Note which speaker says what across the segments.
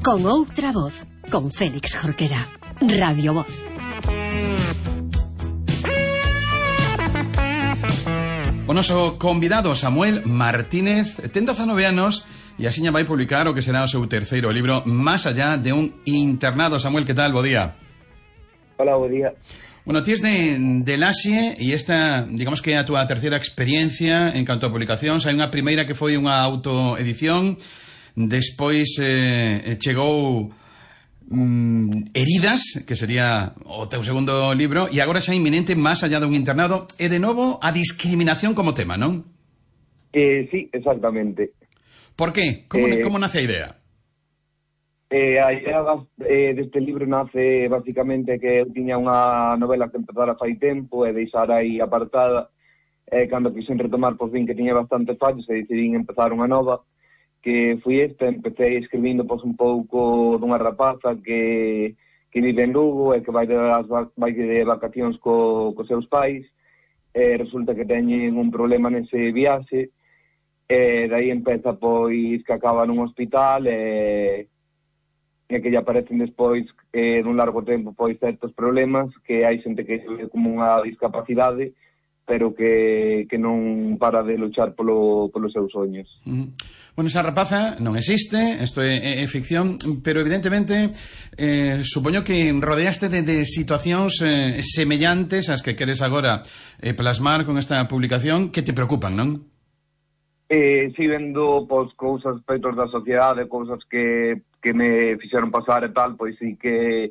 Speaker 1: Con outra voz, con Félix Jorquera. Radio Voz.
Speaker 2: O noso convidado Samuel Martínez ten 19 anos e axiña vai publicar o que será o seu terceiro libro, Más allá de un internado. Samuel, que tal? Bo día.
Speaker 3: Hola, bo día.
Speaker 2: Bueno, ti es de Laxe e esta, digamos que é a túa terceira experiencia en canto a publicacións. Hai unha primeira que foi unha autoedición, despois chegou Heridas, que sería o teu segundo libro, e agora xa inminente Más allá de un internado, e de novo a discriminación como tema, non?
Speaker 3: Sí, exactamente.
Speaker 2: Por qué? Como nace a idea?
Speaker 3: A idea deste libro nace basicamente que eu tiña unha novela que empezara fai tempo e deixar aí apartada, cando quixen retomar, pois vin que tiña bastante fallos e decidín empezar unha nova, que foi esta. Empecé escribindo pois un pouco dunha rapaza que vive en Lugo e que vai de vacacións cos seus pais, resulta que teñen un problema nese viaxe, e dai empeza pois que acaba nun hospital e que lle aparecen despois dun largo tempo pois certos problemas, que hai xente que ve como unha discapacidade, pero que non para de luchar polos seus soños.
Speaker 2: Bueno, esa rapaza non existe, isto é ficción, pero evidentemente supoño que rodeaste de situacións semellantes ás que queres agora plasmar con esta publicación, que te preocupan, non?
Speaker 3: Si vendo pois cousas, aspectos da sociedade, cousas que me fixeron pasar e tal, pois sí que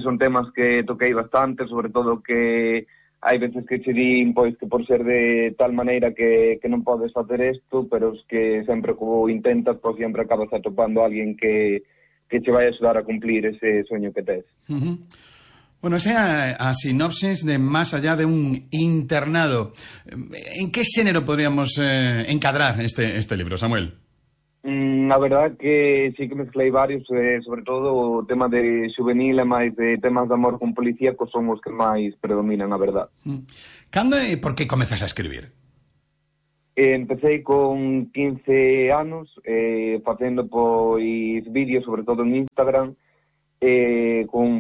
Speaker 3: son temas que toquei bastante, sobre todo que hai veces que che din pois que por ser de tal maneira que non podes facer isto, pero es que sempre que o intentas, pois sempre acabas atopando a alguén que che vai axudar a cumplir ese soño que tes.
Speaker 2: Bueno, esa é a sinopsis de Más allá de un internado. En que xénero podríamos encadrar este libro, Samuel?
Speaker 3: A verdad que sí que mezclei varios, sobre todo o tema de juvenil e máis de temas de amor con policíacos son os que máis predominan, a verdad.
Speaker 2: Cando e por que comezas a escribir?
Speaker 3: Empecé con 15 anos, facendo pois vídeos, sobre todo en Instagram,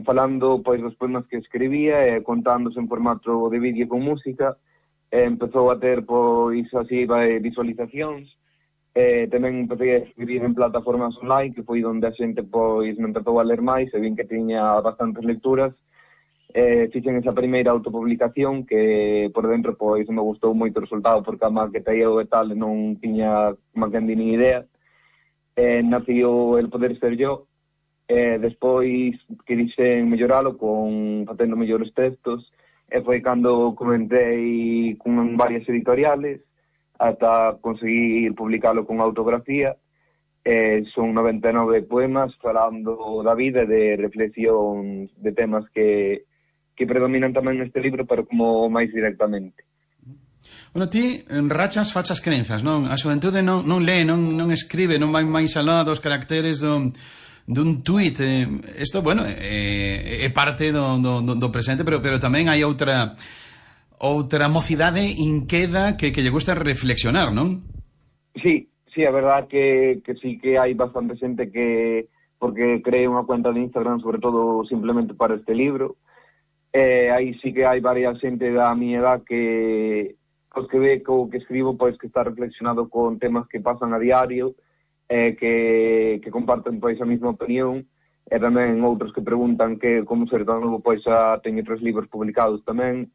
Speaker 3: falando pois dos poemas que escribía e contándose en formato de vídeo con música. Empezou a ter pois así visualizacións. Tamén empecé a escribir en plataformas online, que foi onde a xente pois me empezou a ler máis e vin que tiña bastantes lecturas. Fixen esa primeira autopublicación que por dentro pois me gustou moito o resultado, porque a maqueta eu e tal non tiña máquina ni idea. Nació El poder ser yo. Despois que dixen melloralo facendo mellores textos, e foi cando comentei con varias editoriales ata conseguir publicalo con autografía. Son 99 poemas falando da vida e de reflexións de temas que predominan tamén neste libro, pero como máis directamente.
Speaker 2: Bueno, ti rachas fachas crenzas, non? A xuventude non lee, non escribe, non vai máis alá dos caracteres dun tuit. Isto, bueno, é parte do presente, pero tamén hai outra mocidade inqueda que lle gusta reflexionar, non?
Speaker 3: Sí, a verdad que sí que hai bastante xente que, porque cree unha cuenta de Instagram sobre todo simplemente para este libro. Aí sí que hai varias xente da miña edad que ve que o que escribo pois que está reflexionado con temas que pasan a diario, que comparten pois a mesma opinión, e tamén outros que preguntan que como ser tan novo, pois xa teño 3 libros publicados tamén.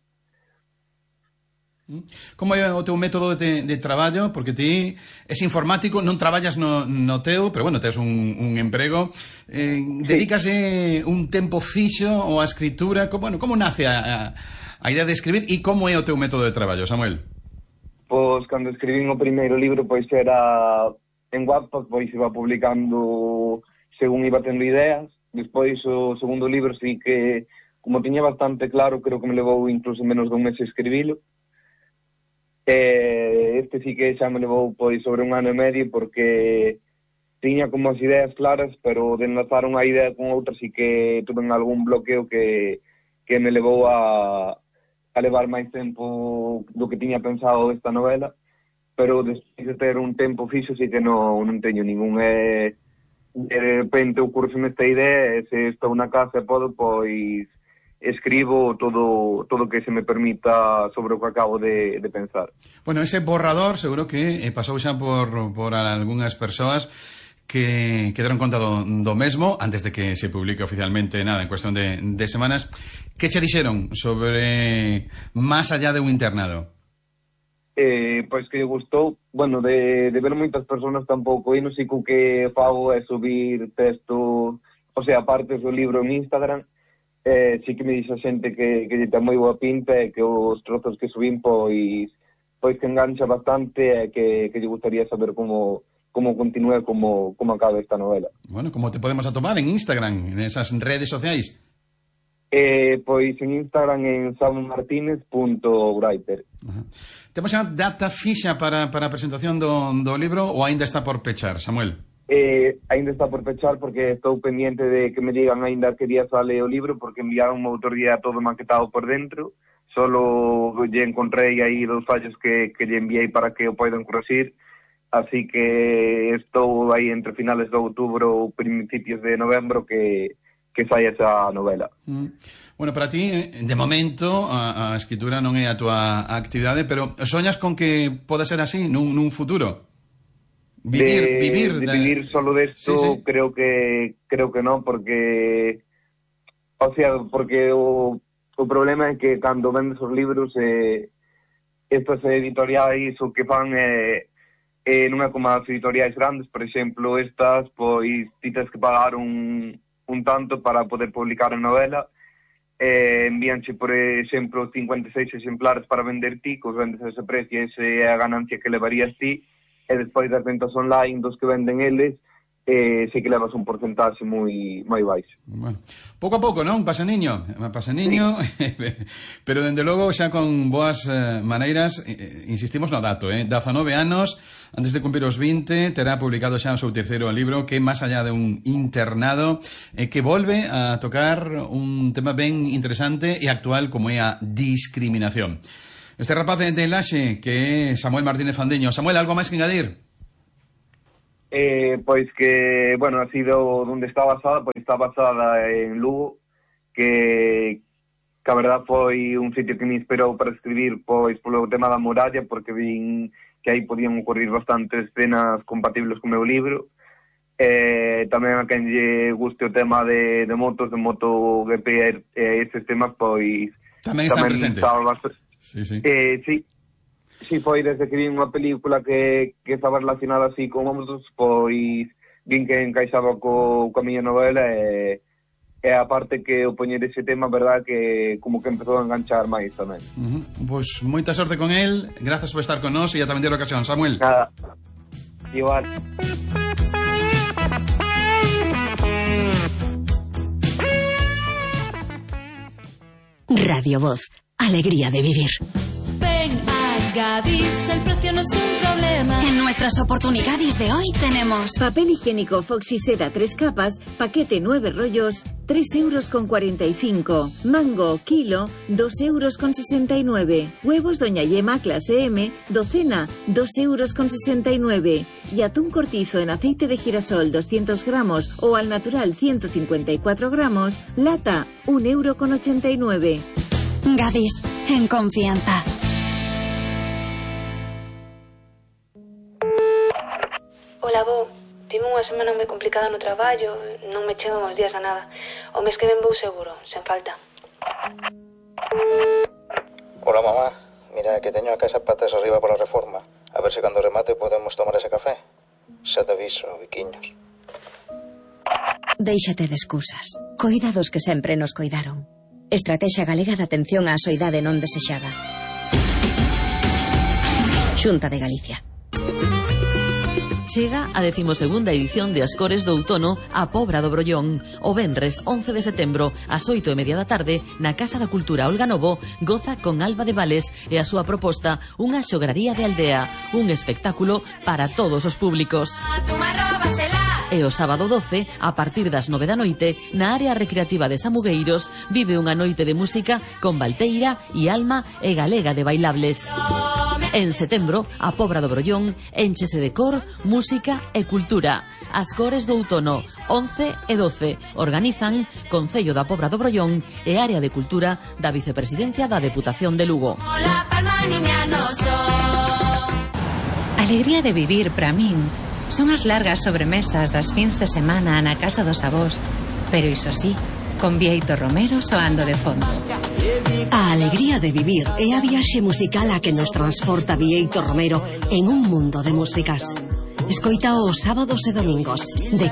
Speaker 2: Como é o teu método de traballo? Porque ti és informático, non traballas no teu, pero bueno, tes un emprego. Dedícase un tempo fixo ou a escritura? Como nace a idea de escribir e como é o teu método de traballo, Samuel?
Speaker 3: Pois cando escribín o primeiro libro pois era en Wattpad, pois iba publicando según iba tendo ideas. Despois o segundo libro sí que, como tiña bastante claro, creo que me levou incluso menos dun mes escribilo. Este sí que xa me levou pois sobre 1 ano e medio, porque tiña como as ideas claras, pero de enlazar unha idea con outra sí que tuve algún bloqueo que me levou a levar máis tempo do que tiña pensado esta novela, pero despois de ter un tempo fixo sí que non teño ningún. de repente ocurre-me esta idea, e se estou na casa e podo, pois escribo todo o que se me permita sobre o que acabo de pensar.
Speaker 2: Bueno, ese borrador seguro que pasou xa por algunhas persoas que deron conta do mesmo antes de que se publique oficialmente, nada, en cuestión de semanas. Que che dixeron sobre Más allá de un internado?
Speaker 3: Pois que gustou, bueno, de ver moitas persoas tampouco, e non sei co que fago é subir texto, o sea, partes do libro en Instagram. Sí que me dixe a xente que lle ten moi boa pinta e que os trozos que subín pois que engancha bastante e que lle gustaría saber como continúe, como acaba esta novela.
Speaker 2: Bueno, como te podemos atomar en Instagram, en esas redes sociais?
Speaker 3: Pois en Instagram en samuelmartinez.writer.
Speaker 2: Temos xa data fixa para a presentación do libro ou aínda está por pechar, Samuel?
Speaker 3: Ainda está por pechar porque estou pendiente de que me digan ainda que día sale o libro, porque enviaron outro día todo maquetado por dentro. Solo lle encontrei aí 2 fallos que lle enviei para que o poidan corregir, así que estou aí entre finales de outubro ou principios de novembro que sai esa novela.
Speaker 2: Bueno, para ti, de momento, a escritura non é a túa actividade, pero soñas con que poda ser así nun futuro?
Speaker 3: Vivir solo de esto, sí. Creo que no, porque porque o problema é que cando vendes os libros estas editoriais o que fan non é como as editoriais grandes, por exemplo, estas pois ti tens que pagar un tanto para poder publicar a novela, envíanche, por exemplo, 56 exemplares para vender ti, que os vendes a ese precio, esa é a ganancia que levarías ti, e despois das ventas online dos que venden eles, sí que levas un porcentaxe moi baixo.
Speaker 2: Bueno, pouco a pouco, non? Pasa niño, sí. Pero dende logo xa con boas maneiras, insistimos no dato, 19 anos, antes de cumprir os 20, terá publicado xa o seu terceiro libro, que é Más allá de un internado, que volve a tocar un tema ben interesante e actual como é a discriminación. Este rapaz de Laxe, que é Samuel Martínez Fandiño. Samuel, algo máis que engadir?
Speaker 3: Pois que, bueno, ha sido onde está basada, pois está basada en Lugo, que a verdad foi un sitio que me inspirou para escribir, pois polo tema da muralla, porque vin que aí podían ocurrir bastantes escenas compatibles co meu libro. Tamén a quen lle guste o tema de motos, de MotoGP e estes temas, pois
Speaker 2: tamén están presentes.
Speaker 3: Sí. Sí, foi desde que vi unha película que estaba relacionada así con motos, pois vin que encaixaba co miña novela e a parte que o poñer ese tema, verdad, que como que empezou a enganchar máis tamén.
Speaker 2: Pois moita sorte con el, grazas por estar con nós e ata vender a ocasión, Samuel.
Speaker 3: Nada, igual.
Speaker 1: Radio Voz, alegría de vivir.
Speaker 4: Ven a Gadis, el precio no es un problema.
Speaker 1: En nuestras oportunidades de hoy tenemos
Speaker 5: papel higiénico Foxy Seda 3 capas, paquete 9 rollos, 3,45 €. Mango, kilo, 2,69 €. Huevos Doña Yema clase M, docena, 2,69 €. Y atún cortizo en aceite de girasol 200 gramos o al natural 154 gramos, lata, 1,89 €.
Speaker 1: Gadis, en confianza.
Speaker 6: Ola, bo. Tive unha semana moi complicada no traballo, non me chegan os días a nada. O mes que ven vou seguro, sen falta.
Speaker 7: Hola, mamá. Mira, que teño a casa patas arriba pola reforma. A ver se cando remate podemos tomar ese café. Xa te aviso, biquiños.
Speaker 1: Déixate de excusas. Coida dos que sempre nos coidaron. Estrategia Galega de Atención á Soidade Non Desexada. Xunta de Galicia.
Speaker 8: Chega a 12ª edición de As Cores do Outono a Pobra do Brollón. O venres 11 de setembro ás 8:30 da tarde na Casa da Cultura Olga Novo goza con Alba de Vales e a súa proposta Unha xograría de aldea, un espectáculo para todos os públicos. E o sábado 12, a partir das 9 da noite, na área recreativa de Samugueiros, vive unha noite de música con Valteira e Alma e Galega de Bailables. En setembro, a Pobra do Brollón enchese de cor, música e cultura. As cores do outono, 11 e 12. Organizan Concello da Pobra do Brollón e Área de Cultura da Vicepresidencia da Deputación de Lugo.
Speaker 9: Alegría de vivir para min son as largas sobremesas das fins de semana na casa dos avós, pero iso sí, con Bieito Romero soando de fondo.
Speaker 10: A alegría de vivir é a viaxe musical a que nos transporta Bieito Romero en un mundo de músicas. Escoita os sábados e domingos de